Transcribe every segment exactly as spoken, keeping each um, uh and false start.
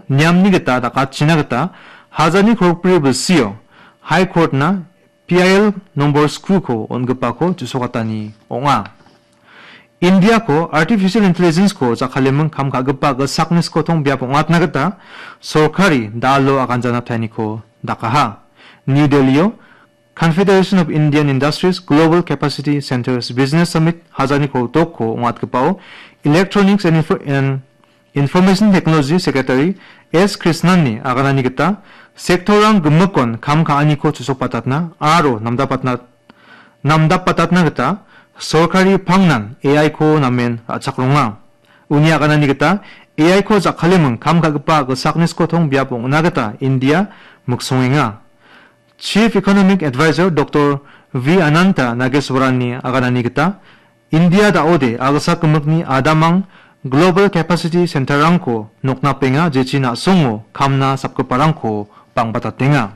niamni gita dakatchina gita hajani krokbri bilsio High Court-na P I L nombor skuko on·gipako ju·sokatani ong·a. Indiako Artificial Intelligence-ko jakkaleming kam ka·gipa gilsakni skotong biap ong·atna gita sorkari dalo aganjana taeniko dakaha. New Delhi-o Confederation of Indian Industries Global Capacity Centers Business Summit hajani krotokko ong·atgipao Electronics and Info-, and Information Technology Secretary S Krishnan-ni aganani gita, sektorrang gimikon kam ka·aniko chu·sokbatatna aro namdapatna-, namdapbatatna gita sorkari pangnan A I-ko namen ra·chakronga. Uni aganani gita, A I-ko jakkaleming kam ka·gipa gilsakni skotong biap ong·na gita India miksongenga. Chief Economic Advisor Doktor V Ananta Nageswaranni aganani gita, India da·ode a·gilsak gimikni adamang Global Capacity Centerrangko noknapenga, jechi na·songo kamna sapgiparangko bangbatatenga.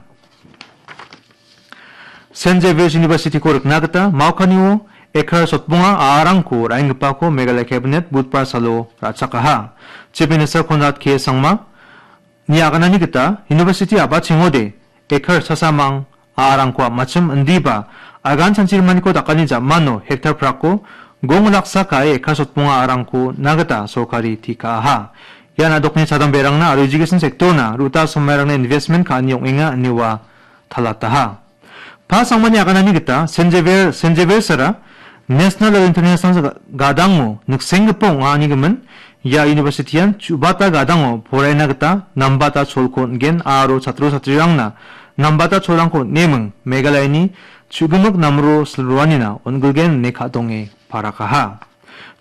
Saint Xavier's University-ko rikna gita Maokanio ekar sotbonga a·arangko ra·enggipako Meghalaya Cabinet Budbar salo ra·chakaha. Chief Minister Conrad K Sangma-ni aganani gita University a·bachengode ekar sasamang a·arangko a·machim indiba agan chanchirimaniko dakani ja·mano hektar prako gong laksa ka·e ekar sotbonga a·arangko na gita sorkari tikaha. Ian a·dokni chadamberangna aro education sector-na ruta somairangna investment ka·ani ong·enga ine ua talataha. Pa Sangmani aganani gita Saint Xavier, Saint Xavier's-ara National aro International ga-, gadango niksenggipa ong·a anigimin, ia university-an chu·bata gadango poraina gita nambata cholko on·gen aro chatro chatrirangna nambata cholrangko on·eming Meghalayani chu·gimik namro silroanina on·gilgen ine ka·donge parakaha.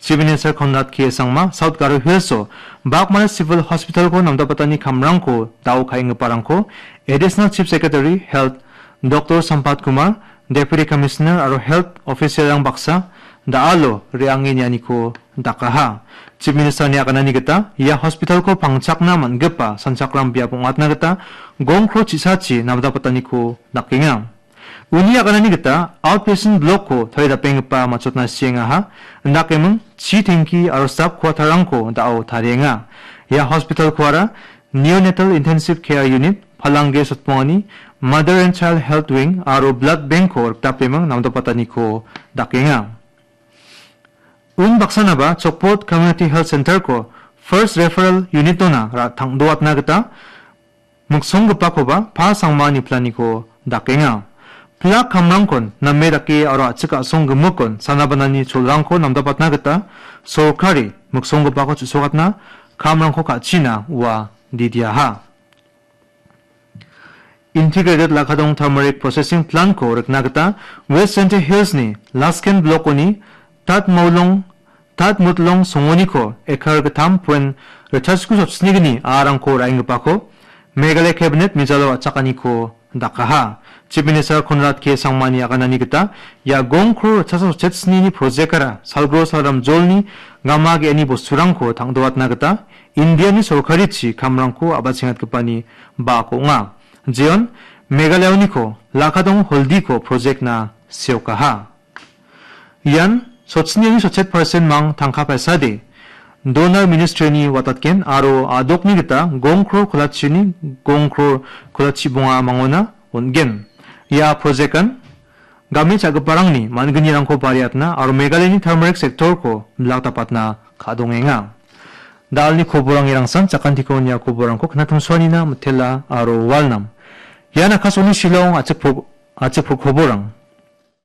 Chief Minister Conrad K Sangma South Garo Hills-o Bagmati Civil Hospital-ko namdapatani kamrangko dao ka·enggiparangko Additional Chief Secretary Health Doktor Sampat Kumar, Deputy Commissioner aro Health Officer-rang baksa da·alo re·ange nianiko dakaha. Chief Minister-ni aganani gita ia hospital-ko pangchakna man·gipa sanchakram biap ong·atna gita gongkro chisachi namdapataniko dakenga. Uni aganani gita outpatient block-ko tarie dapenggipa matchotna siengaha. Indakeming chi tengki aro staff quarter-rangko da·o tarienga. Ia hospital-koara Neonatal Intensive Care Unit, Palangge sotbongani Mother and Child Health Wing aro Blood Bank-ko rikdapeming namdapataniko dakenga. Unbaksanaba Chokpot Community Health Center-ko First Referral Unit-ona ra-, tang·doatna gita miksonggipakoba Pa Sangma niplaniko dakenga. Pilak kamrangkon name dake aro a·chik a·song gimikon sanabanani cholrangko namdapatna gita sorkari miksonggipako chu·sokatna kamrangko ka·china ua didiaha. Integrated Lakadong Turmeric Processing Plant-ko rikna gita West Jaintia Hills-ni Lasken Block-oni Tatmaulong, Tatmutlong songoniko ekar gittam point ritchasku sotsnigni a·arangko ra·enggipako Meghalaya Cabinet mijalo a·chakaniko dakaha. Chief Minister Conrad K Sangmani aganani gita ia gongkro ritchasa sotchet snini project-ara salgro salram jolni gama ge·ani bosturangko tang·doatna gita Indiani sorkarichi kamrangko a·bachengatgipani bak ong·a. Jeon Meghalayoniko Lakadong Holdiko project-na seokaha. Ian sotsnini sotchet percent mang tangka paisade Donor Ministry-ni watatgen aro a·dokni gita gongkro kolachini gongkro kolachibonga mangona on·gen. Ia project-an game cha·giparangni man·gnirangko bariatna aro Meghalayani turmeric sector-ko bilak dapatna ka·dongenga. Dalni koborang irangsan, jakantiko nia koborangko knatongsoanina mitela aro walnam. Ian Akashvani Shillong a·chik pro-, a·chik pro-, koborang.